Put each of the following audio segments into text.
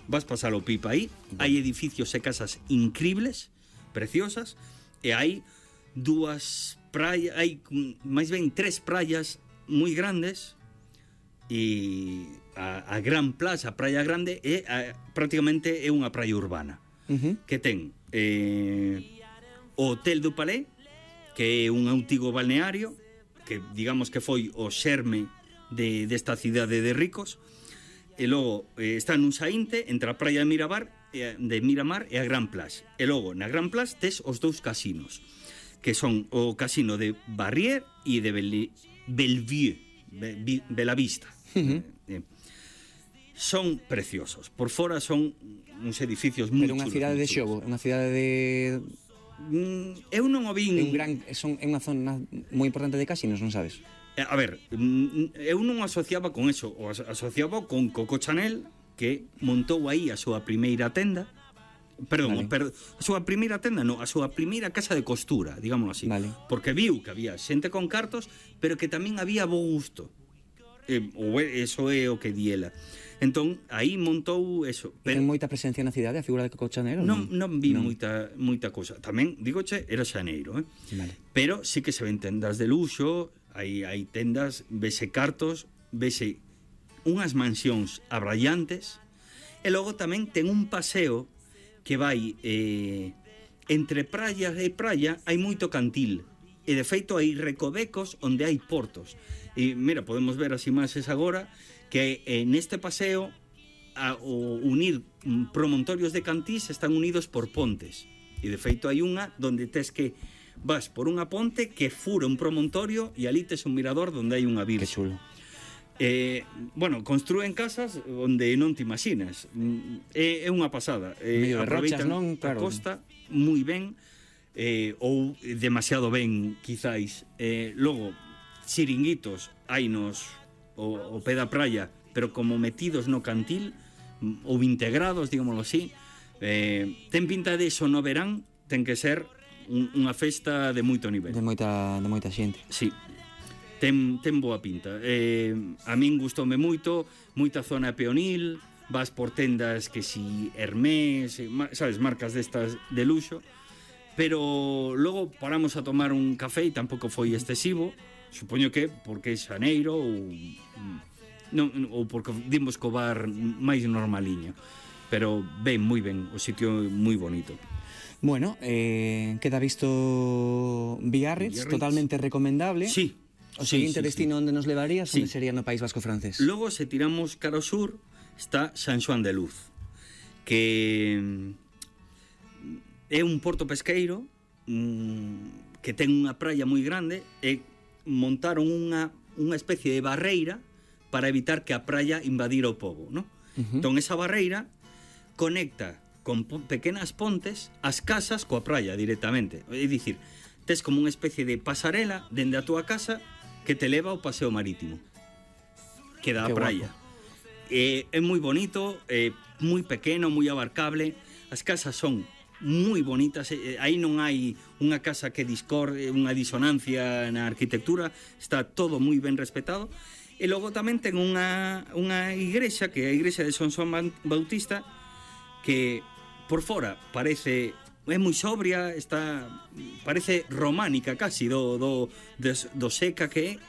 vas pasar o pipa aí, hai edificios e casas increíbles, preciosas, e hai dúas praias, hai máis ben 3 praias moi grandes, e a Gran Plaza, a Praia Grande, prácticamente é unha praia urbana, que ten o Hotel do Palais, que é un antigo balneario, que digamos que foi o xerme desta cidade de ricos, e logo está nun saínte entre a praia de Miramar e a Gran Place. E logo na Gran Place tes os dous casinos, que son o casino de Barrier e de Bellevue, Belavista. Son preciosos. Por fora son uns edificios moi chulos. Pero unha cidade de xogo, unha cidade de... Eu non o vin... É unha zona moi importante de casinos, non sabes? A ver, eu non asociaba con eso, o asociaba con Coco Chanel, que montou aí a súa primeira tenda. Perdón, a súa primeira tenda non, a súa primeira casa de costura, digámoslo así. Porque viu que había xente con cartos, pero que tamén había bo gusto. Ou eso é o que di ela. Entón, aí montou eso. Ten moita presencia na cidade a figura de Coco Chanel? Non vi moita cousa. Tamén, digoche, era xaneiro, Pero sí que se ven tendas de luxo, hai tendas, vese cartos, vese unhas mansións abraiantes, e logo tamén ten un paseo que vai entre praia e praia, hai moito cantil, e de feito hai recovecos onde hai portos. E mira, podemos ver as imaxes agora, que neste paseo o unir promontorios de cantís están unidos por pontes, e de feito hai unha donde tes que vas por unha ponte que fura un promontorio e ali tes un mirador donde hai unha virxe. Que chulo. Bueno, construen casas onde non te imaginas. É unha pasada. Medio de rochas, non? Claro. A costa moi ben, ou demasiado ben, quizáis. Logo, chiringuitos hainos o pé da praia, pero como metidos no cantil, ou integrados, digámoslo así. Ten pinta de iso no verán, ten que ser unha festa de moito nivel. De moita xente. Sí. Ten boa pinta. A min gustoume moito, moita zona peonil, vas por tendas que si Hermès, sabes, marcas destas de luxo, pero logo paramos a tomar un café e tampouco foi excesivo, supoño que porque é xaneiro ou porque dimos co bar máis normaliño, pero ben, moi ben, o sitio moi bonito. Bueno, queda visto Biarritz, totalmente recomendable. Sí. O seguinte destino onde nos levarías, onde sería no País Vasco francés? Logo, se tiramos cara ao sur, está San Xoán de Luz, que é un porto pesqueiro que ten unha praia moi grande, e montaron unha especie de barreira para evitar que a praia invadira o pobo, ¿no? Entón, esa barreira conecta con pequenas pontes as casas coa praia directamente. É dicir, tes como unha especie de pasarela dende a túa casa que te leva ao paseo marítimo que dá a praia. É moi bonito, moi pequeno, moi abarcable. As casas son moi bonitas, aí non hai unha casa que discorde, unha disonancia na arquitectura, está todo moi ben respetado. E logo tamén ten unha igrexa, que é a igrexa de San Xoán Bautista, que por fora parece moi sobria, parece románica casi, do seca que é,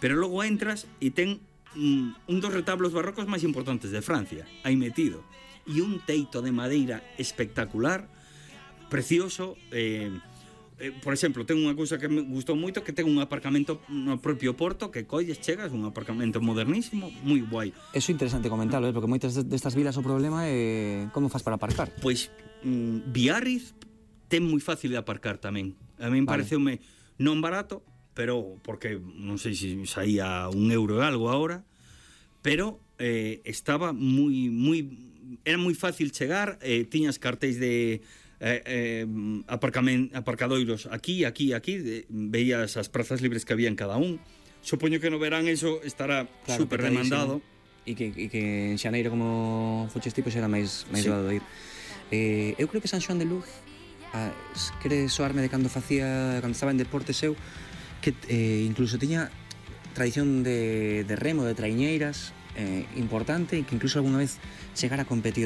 pero logo entras e ten un dos retablos barrocos máis importantes de Francia aí metido, e un teito de madeira espectacular, precioso. Por exemplo, ten unha cousa que me gustou moito, que ten un aparcamento no propio porto, que colles, chegas, un aparcamento modernísimo, moi guai. Eso é interesante comentarlo, porque moitas destas vilas o problema é como faz para aparcar. Pois Biarritz ten moi fácil de aparcar tamén. A min pareceume non barato, pero porque non sei se saía €1 e algo agora, pero estaba era moi fácil chegar, tiñas cartéis de aparcadoiros aquí, veías as prazas libres que había en cada un. Supoño que no verán eso estará super demandado, e que en xaneiro, como fuches tipo, será máis doado ir. Eu creo que San Xoán de Luz quere soarme de cando estaba en deportes eu, que incluso tiña tradición de remo, de traiñeiras importante, e que incluso alguna vez chegara a competir